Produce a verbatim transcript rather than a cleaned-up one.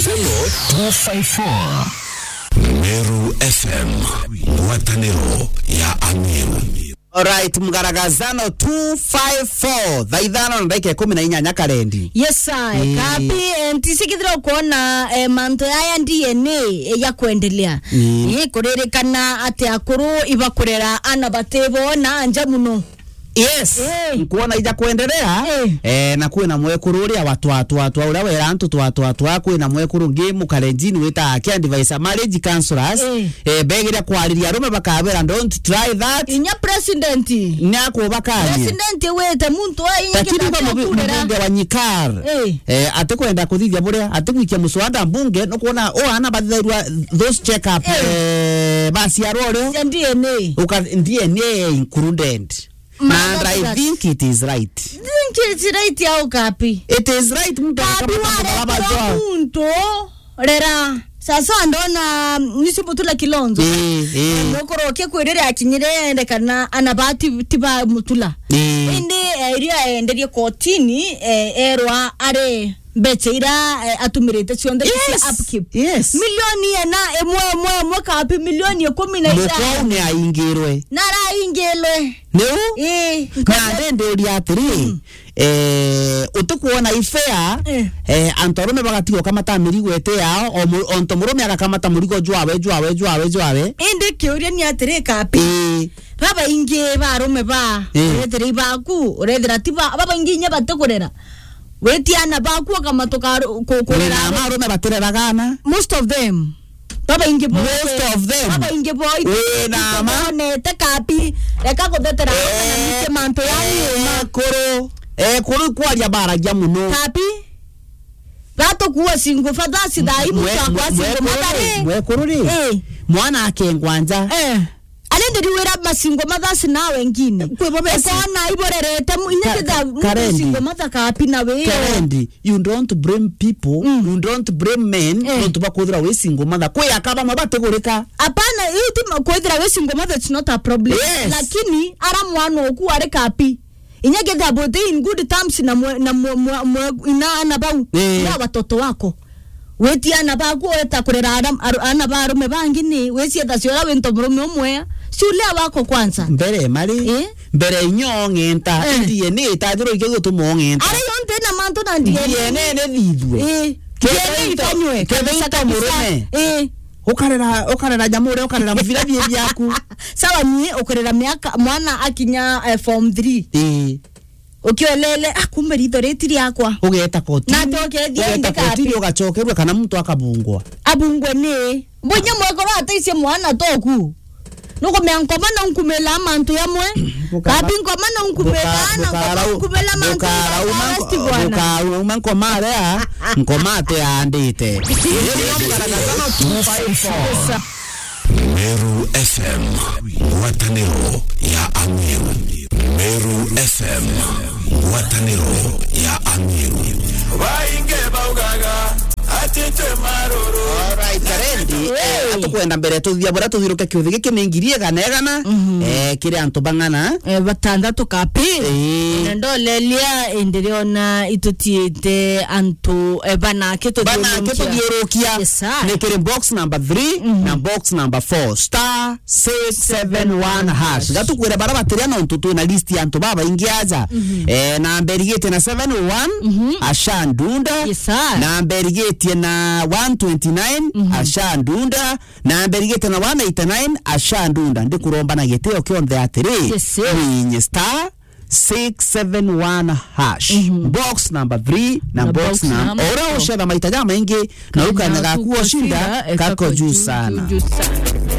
Two five four. Meru F M, ngwataniro ya Ameru. Alright, mgaragazano two five four, thaa ithano na ndagika ikumi na inyanya karendi. Yes, I. Eh. Kapi, eh, ntisikithira kuona, eh, mantu yaya D N A, eh, ya kuendelea. Mm. Eh, kuririkana ati akuru ibakurera ana batibo na nja muno. Yes. Eh. Nkuona ija kuendelea, eh, eh, na kwina mwekuru uria wa twa, twa, twa, uria wera antu twa, twa, twa, kwina mwekuru ngi mukarenjini wita care advisor, marriage counselors, eh, eh, begiria kwariria arume bakabera, "Don't try that." Inya president. Ni akubakania. President wite muntu wa inya. Lakini kwa mubi-, mbunge wa Nyikar, eh, eh, atikwenda kuthithia buria, atigwikia muswada mbunge, nukuona o ana bathithagirwa those check up, eh, eh, baciarwa urio. Cia D N A. Uka-, D N A included. And I think it is right. Think it's right au Kapi? It is right, muntu Kapi akabata waretera muntu rera. Sasa ndona, mm, nisi Mutula Kilonzo. Eh, eh. Nokorokia kwirire akinyire ende kana ana ba ti, ti ba Mutula. Eh. Indi, eh, iria enderie kotini, eh, erwa ari mbecha ira, eh, atumirite cionthe cia upkeep. Yes. Milioni ena, imwe, imwe, imwe, Kapi, milioni ikumi na ithano. Mukau ni aingirwe. Naraingirwe. Niu? Ii. Na ndenderia atiri, mm, eh, utikuona i fair, eh, eh, antu arume bagatiga ukamata mirigo iti yao, o mu-, onto murume agakamata murigo jwawe, jwawe, jwawe, jwawe. Indi kiuria ni atiri, Kapi. Ii. Babaingi ba arume ba, eh, urethira ibaku, urethira ti ba, babaingi inya batikurera. Witi ana baku ukamatuka ku-, kurera. Wina ama arume batireraga ana. Most of them. Babaingi bo. Most of them. Babaingi bo. Wina ama. Nete Kapi. Reka kuthetera, eh, na nike mantu ya nyuma. Ekuru. Ekuru kwaria baragia muno. Kapi. Batukuwa single fathers thaa ii, mwe-, mtu akwa mwe-, single mother ri. Mwekuru ri. Eh. Mwana akengwa nja. Eh. Ari ndiriwira masingo mathasi na wengine. Kwi bo besi. Ukona iborerete mu-, inya ka-, kitha ka-, Karendi. Singo matha Kapi na wi. Karendi, you don't blame people, mm, you don't blame men, eh, nontu bakwithira wi singo matha. Kwi aka bamwe batigurika. Apana, iu ti ma-, kwithira wi singo matha, it's not a problem. Yes. Lakini ara mwana oku ari Kapi. Inya getha bote in good terms na mwe, na mwe, mwe, mwe, ina ana bau. Eh. Na watoto wako. Witi ana baku weta kurera ara-, aru-, ana ba arume bangi ni, wicietha ciora winto murume umwe. Shule wako kwanza. Mbere mari. Eh? Mbere inyo ng'enta. Eh. D N A itajiro ikio gutuma ng'enta. Ari yonte na mantu na D N A. D N A ni thithwe. Eh. Ketha D N A into, ifanywe. Ketha kabisa, into kabisa. Murume. Eh. Ukarera, ukarera nyamu uria, ukarera mubira bie biaku. Sawa, nie ukurera miaka, mwana akinya, eh, form three. Ii. Ukiolele, ah, kumbe ritho riti riakwa. Ugeta kotini. Na tokethia ugeta indi kotini, kapi. Ugacokerua kana muntu akabungwa. Abungwe ni. Mbunya mwekoro ataicie mwana toku. Nukumea nkoma na unkumela mantu yamwe. Buka-, kapi nkoma na unkumela, buka-, na nkoma bukara-, unkumela mantu bukara-, ya uma-, arrest bwana. Bukara-, uma nkoma aria, nkoma ate andite. Meru F M, ngwataniro ya Ameru. Meru F M, ngwataniro ya Ameru. Baingi baugaga ati twi maruru. Alright, Karendi, eh, atukwenda mbere tuthia bura tuthiruke kiuthi giki ni ngiri igana igana, mhm, eh, kiri antu bang'ana. Eh, batandatu kapi. Eh. Na ndolelia, eh, ndiriona itutiite antu, eh, bana kituthiurukia. Bana kituthiurukia. Yes, sir. Ni kiri box number three, mhm, na box number four. Star six seven one hash. Gatukwira bara batiria nontu twina list ya antu babaingi aja. Mhm. Eh, namba irigitie na seven oh one, mhm, Asha Ndunda. Yes, sir. Namba irigitie na one twenty-nine, mhm, Asha Ndunda. Namba irigitie na one eighty-nine, Asha Ndunda. Ndikuromba na gitio kionthe atiri. Yes, sir. Ninye star six seven one hash. Mhm. Box number three na box number four. Ora ucetha maita jamaingi, na ukanya gaku oshinda, kako juu sana. Juu sana.